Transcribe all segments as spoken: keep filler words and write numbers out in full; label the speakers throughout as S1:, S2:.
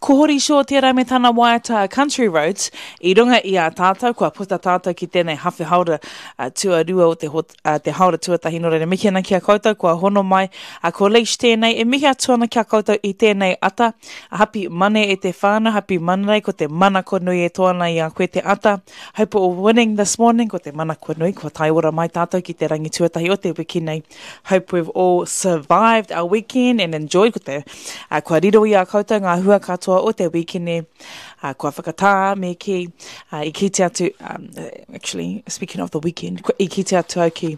S1: Ko Hori Shaw tērā me tana waiata Country Roads i runga i a tātou, kua puta tātou ki tēnei hawhe haora uh, tuarua o te, hot, uh, te haora tuatahi. Nō reira, mihi ana ki a koutou, kua hono mai. Uh, ko Leish tēnei, e mihi atu ana ki a koutou i tēnei ata. Hapi mane e te whānau, hapi manarei, ko te manako nui e toa ana i a koe te ata. Hope all winning this morning, ko te manako nui, kua tae ora mai tātou ki te rangi tuatahi o te wiki nei. Hope we've all survived our weekend and enjoyed. Ko te, uh, kua riro i a koutou ngā hua katoa o te wikene, uh, kua whakatā me ki, uh, i kite atu, um, actually, speaking of the weekend, i kite atu au ki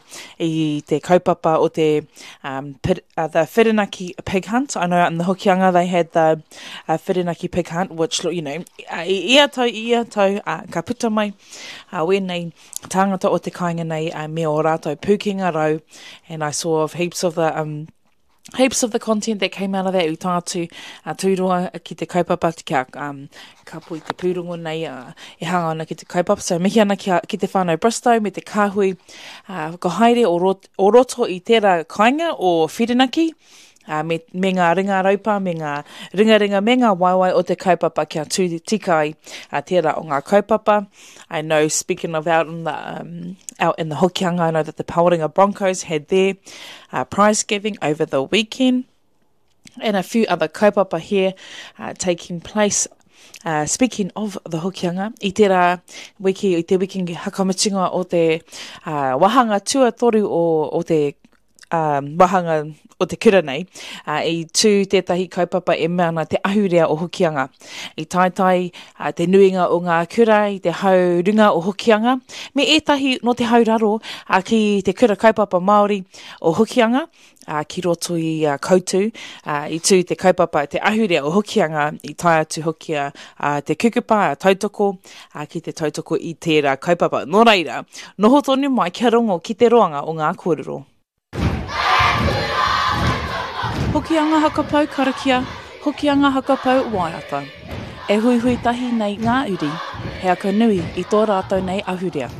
S1: i te kaupapa o te um, pit, uh, the Whirinaki Pig Hunt. I know out in the Hokianga they had the uh, Whirinaki Pig Hunt, which, you know, uh, i ia tau, i ia tau, uh, ka puta mai uh, wēnei tāngata o te kāinga nei uh, me o rātou pūkenga rau, and I saw of heaps of the um, heaps of the content that came out of that i tae atu a Tūroa ki te kaupapa kia um, kapo i te pūrongo nei uh, e hanga ana ki te kaupapa. So mihi ana ki, a, ki te whānau Bristow me te kāhui uh, whakahaere o, rot, o roto i tērā kāinga o Whirinaki, uh, me, me ngā ringa raupa, me ngā ringaringa, me ngā waewae o te kaupapa kia tū tika ai uh, tērā o ngā kaupapa. I know, speaking of out in the, um, out in the Hokianga, I know that the Pawarenga Broncos had their uh, prize giving over the weekend and a few other kaupapa here uh, taking place. Uh, speaking of the Hokianga, i tērā wiki, i te wiki hakamutunga o te uh, wahanga tuatoru o, o te um, wahanga o te kura nei, uh, i tū tētahi kaupapa e mea ana te ahurea o Hokianga. I taetae uh, te nuinga o ngā kura i te hau runga o Hokianga, me ētahi no te hau raro uh, ki te kura kaupapa Māori o Hokianga, uh, ki roto i uh, Koutu, uh, i tū te kaupapa te ahurea o Hokianga, i tae atu hoki a uh, te kukupa, a tautoko, uh, ki te tautoko i tērā kaupapa. Nō reira, noho tonu mai kia rongo ki te roanga o ngā kōrero. Hokianga Hakapau Karakia, Hokianga Hakapau Waiata. E huihui tahi nei ngā uri, he aka nui i tō rātou nei ahurea.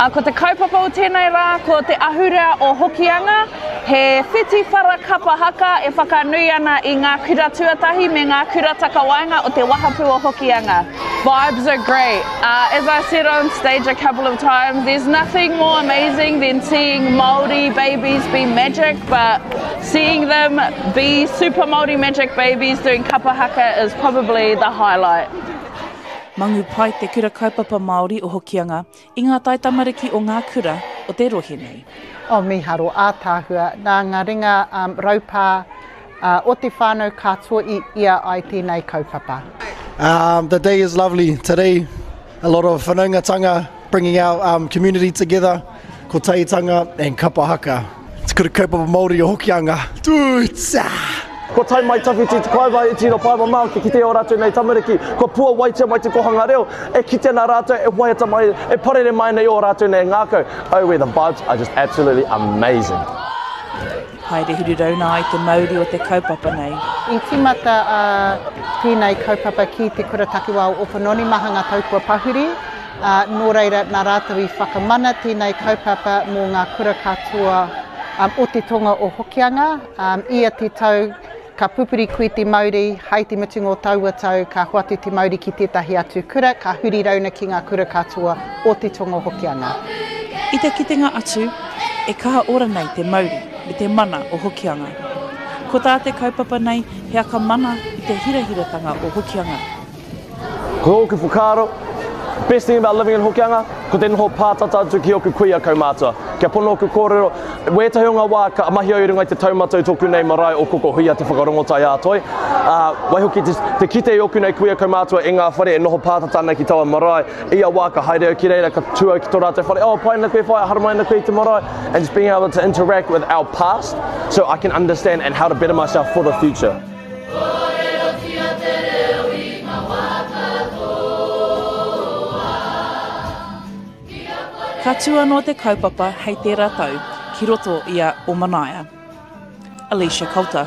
S2: Uh, ko te kaupapa o tēnei rā, ko te ahurea o Hokianga, he whiti whara kapa haka e whakanui ana i ngā kura tuatahi me ngā kura takawaenga o te wahapu o Hokianga. Vibes are great. Uh, as I said on stage a couple of times, there's nothing more amazing than seeing Māori babies be magic, but seeing them be super Māori magic babies doing kapa haka is probably the highlight.
S1: Mangu pai te kura kaupapa Māori o Hokianga i ngā taitamariki o ngā kura o te rohe nei.
S3: O miharo ātāhua, nā ngā ringa um, raupā uh, o te whānau katoa i ia ai tēnei kaupapa.
S4: Um, the day is lovely. Today, a lot of whanaungatanga, bringing our um, community together, kotahitanga and kapa haka. Te kura kaupapa Māori o Hokianga. Tūtsa!
S5: Ko tai mai tawhiti te kaiwa i tino pai mamau ki kite o rātou nei tamariki. Ko pua waitia mai te kohanga reo, e kite nā rātou, e waiata mai, e parere mai nei o rātou nei ngākau. Oh, where the vibes are just absolutely amazing.
S1: Haere huru rauna ai te mauri o te kaupapa nei.
S3: I tīmata uh, tēnei kaupapa ki te kura takiwā o Opononi maha ngā tau kua pahuri, uh, nō reira nā rātou i whakamana tēnei kaupapa mō ngā kura katoa um, o te tonga o Hokianga. Um, ia te tau ka pupuri koe te mauri, hai te mutunga o taua tau, ka hoatu te mauri ki tētahi atu kura, ka huri rauna ki ngā kura katoa o te tonga o Hokianga.
S1: I te kitenga atu, e kaha ora nei te mauri me te mana o Hokianga. Ko tā te kaupapa nei, he aka mana i te hirahiratanga o Hokianga.
S5: Ko ōku whakaaro, best thing about living in Hokianga, ko te noho pātata atu ki oku kuia kaumātua. Kia pono oku kōrero, wētahi o ngā wā ka mahi au i runga i te taumata i tōku nei marae o Kokohuia te whakarongotai ā toi. Uh, waihoki te, te kite i oku nei kuia kaumātua i ngā whare e noho pātata ana ki taua marae. Ia wā ka haere au ki reira, ka tū au ki tō rātou whare, oh, pai ana koe whaea, haramai ana koe i te marae. And just being able to interact with our past so I can understand and how to better myself for the future.
S6: Kōrerotia te reo i ngā wā katoa.
S1: Ka tū anō te kaupapa hei tērā tau ki roto i a Omanaia. Alicia Coulter.